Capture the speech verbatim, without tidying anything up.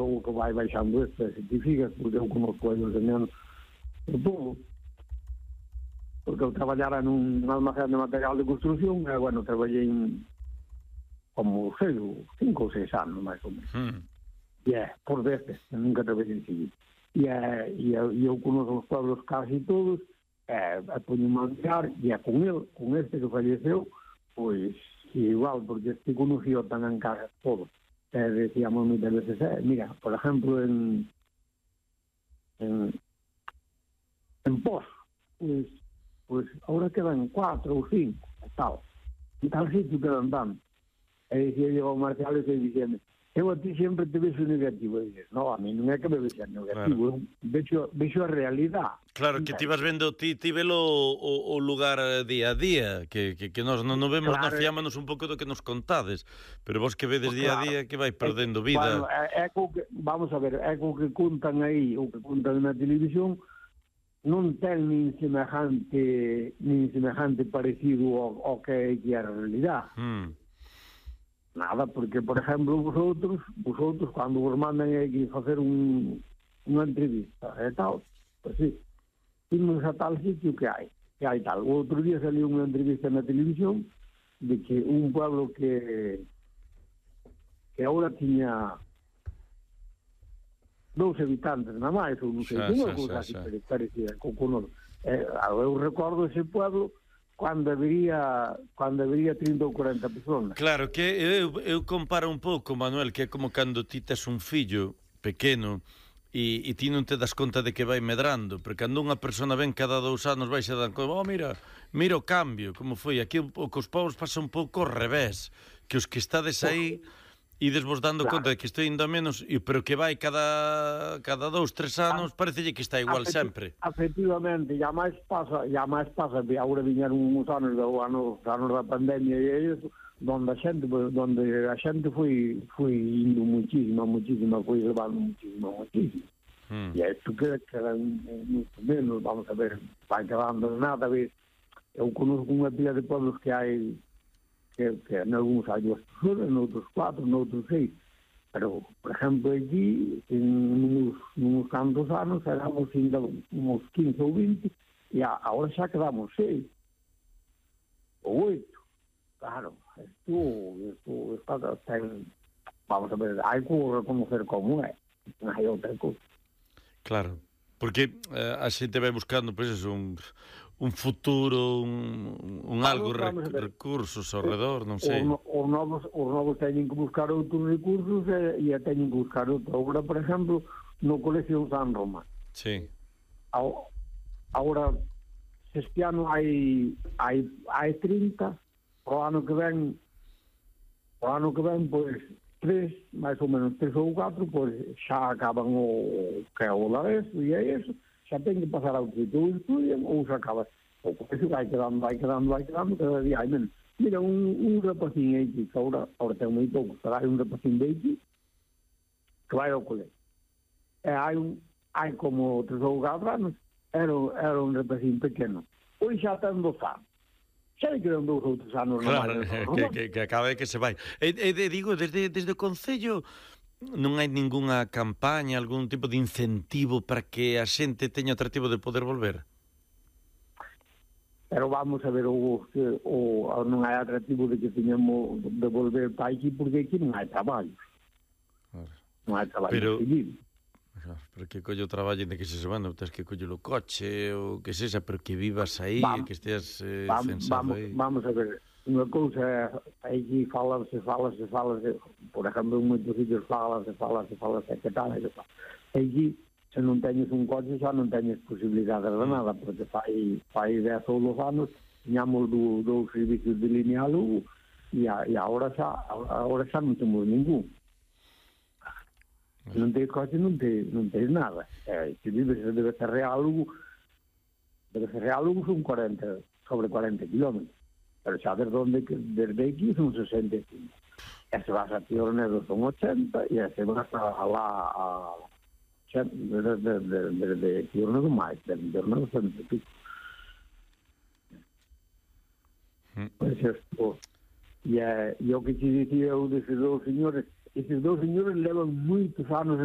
o que vai baixando este, certifica, porque eu conozco aí os anos por todo, porque eu traballara nun almacén de material de construcción, e, bueno, traballei en, como, sei, cinco ou seis anos, máis ou menos. Mm. E é, por destes, nunca traballei en civil. E, é, e, é, e eu conozco os pueblos casi todos, e, e poño-me a mirar, e é con el, con este que falleceu, pois, igual, porque este conoció tan en casa todo. Eh, decíamos muchas veces, eh, mira, por ejemplo, en en, en Pos, pues, pues ahora quedan cuatro ou cinco, tal. En tal sitio quedan tanto. E dicía yo ao Marcial e diciendo, eu a ti sempre te vexo negativo. E dices, no, a mí non é que me vexo negativo, claro. vexo, vexo a realidad. Claro, que ti vas vendo, ti, ti velo o, o lugar día a día, que, que, que nos non no vemos, claro, nos fiámonos un pouco do que nos contades, pero vos que vedes pues día claro. a día que vai perdendo vida. Bueno, é, é que, vamos a ver, é o que contan aí, o que contan na televisión, non ten nin semejante, nin semejante parecido ao, ao que é que é a realidad. Mm. Nada, porque, por exemplo, vosotros, vosotros, cando vos mandan aquí facer un, unha entrevista e tal, pues sí, imos a tal sitio que hai, que hai tal. O outro día saliu unha entrevista na televisión de que un pueblo que que agora tiña dous habitantes na máis, ou non sei, unha cousa así parecida con o eh, eu recordo ese pueblo cando habería, cando habería trinta ou cuarenta personas. Claro, que eu, eu comparo un pouco, Manuel, que é como cando ti tes un fillo pequeno e, e ti non te das conta de que vai medrando, porque cando unha persona ven cada dous anos vai se dan conta, oh, mira, mira o cambio, como foi. Aquí o que os povos pasa un pouco ao revés, que os que estades aí ides vos dando claro. conta de que estou indo a menos, pero que vai cada cada dous, tres anos, parecelle que está igual Afecti sempre. Efectivamente, ya máis pasa, ya máis pasa, agora viñeron uns anos, do ano, anos da pandemia e iso, donde a xente, donde a xente foi, foi indo muchísima, muchísima, foi levando muchísima, muchísima. Hmm. E isto queda, queda muito menos, vamos a ver, vai quedando nada, ves, eu conozco unha pila de pueblos que hai que, que en algúns hai dúas personas, en outros cuatro, en outros seis. Pero, por exemplo, aquí, en uns, uns cantos anos, éramos ainda uns quince ou vinte, e a, agora xa quedamos seis ou oito. Claro, isto, isto, isto ten, vamos a ver, hai que reconocer como é, non hai outra cousa. Claro, porque eh, a xente vai buscando, pois, pues, un... un futuro, un, un algo, rec, recursos ao redor, non sei. Os, os, novos, os novos teñen que buscar outros recursos e, e teñen que buscar outro. Agora, por exemplo, no Colegio San Roma. Sí. Agora, este ano hai, hai, hai trinta, o ano que ven, o ano que ven, pois, tres, máis ou menos tres ou catro, pois, xa acaban o que é o lareso e é eso. Xa ten que pasar ao sitio, ou estudian, ou se acaba. O colegio vai quedando, vai quedando, vai quedando, cada día hai menos. Mira, un, un rapacín aquí, que ahora, ahora ten moi pouco, pero hai un rapacín de aquí, que vai ao colegio. E hai un, hai como tres ou catro anos, era, era un rapacín pequeno. Hoxe xa ten dos anos. Xa quedan dous outros anos. Claro, no que, que, que acaba de que se vai. E, e digo, desde, desde o Concello, non hai ningunha campaña, algún tipo de incentivo para que a xente teña atractivo de poder volver? Pero vamos a ver, o, o, non hai atractivo de que teñamos de volver para aquí, porque aquí non hai traballo. Claro. Non hai traballo pero, seguido. Pero que collo traballo de que se semana, tens que collo o coche, ou que sexa, pero que vivas aí, vamos, que esteas eh, vamos, censado vamos, aí. Vamos a ver, unha cousa, aquí falase, falase, falase, por exemplo, en moitos sitios falase, falase, falase, que tal, que tal. Aquí, se non teñes un coche, xa non teñes posibilidades de nada, porque fai, fai dez ou doce anos, tiñamos do, dos servicios de línea a Lugo, e, a, e agora xa, agora xa non temos ningún. Se non tens coche, non tens, non tens nada. Eh, se vives debe ser real Lugo, debe ser real Lugo son cuarenta, sobre cuarenta kilómetros. Pero xa desde onde, desde aquí son sesenta e cinco. E se vas a Tiornedo son ochenta, e se vas a lá a desde de, de, de Tiornedo máis, desde Tiornedo cento e pico. Pois isto, e, e o que te dicía eu deses dous señores, esses dous señores levan moitos anos